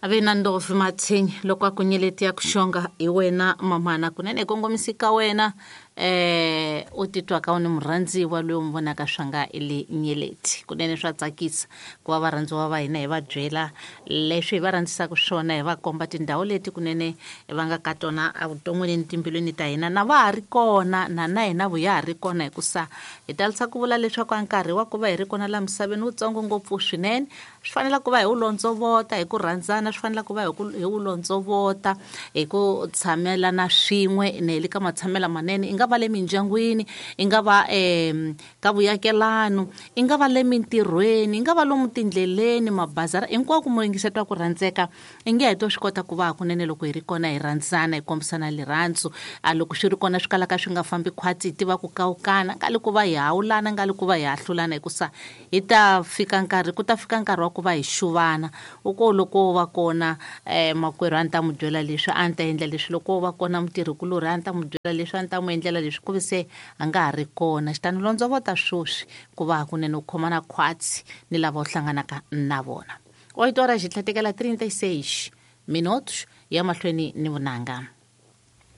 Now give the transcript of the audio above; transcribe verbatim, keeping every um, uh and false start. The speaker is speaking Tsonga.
Ave na ndovi mathinyi loko a ku nyeleti ya ku xonga hi wena mamana kunene kongomisi ka wena eh u titwaka u ni murhandziwa loyi u n'wi vonaka swa nga i le nyeleti. Kunene swa tsakisa ku va varhandziwa va hina hi va byela leswi hi va rhandzisaka swona, hi va komba tindhawu leti kunene va nga ka tona evuton'wini ni timbilwini ta hina, na va ha ri kona na na hina vu ya ha ri kona, hikusa hi talisa ku vula leswaku a nkarhi wa ku va hi ri kona laha misaveni wutsongo ngopfu swinene. Swi fanele ku va hi wu londzovota hi ku rhandzana, swi fanele ku va hi ku hi wu londzovota hi ku tshamelana swin'we ne le ka matshamelo manene, i nga va le mindyangwini, i nga va um ka vuyakelano, i nga va le mintirhweni, i nga va lomu tindleleni, mabazara, hinkwako mo yingisetiwa ku rhandzeka. I nge he to swi kota ku va hakunene loko hi ri kona hi rhandzana, hi kombisana rirhandzu. A loko swi ri kona swi kalaka swi nga fambi khwatsi, hi tiva ku kawukana, nga le ku va hi hawulana, nga le ku va hi hahlulana, hikusa hi ta fika nkarhi ku ta fika nkarhi wa ku va hi xuvana. U ko loko wo va kona um makwerhu a ni ta n'wi byela leswi, a ni ta endla leswi, loko wo va kona mutirhikulorhi a ni ta n'wi byela leswi, a ni ta n'wi endlela leswi, ku vi se a nga ha ri kona. Xitani londzovota sweswi ku va hakunene u khomana khwatsi ni lava u hlanganaka na vona. Oito horas xi tlhatekela trinta e seis minutos ya mahlweni ni vunanga.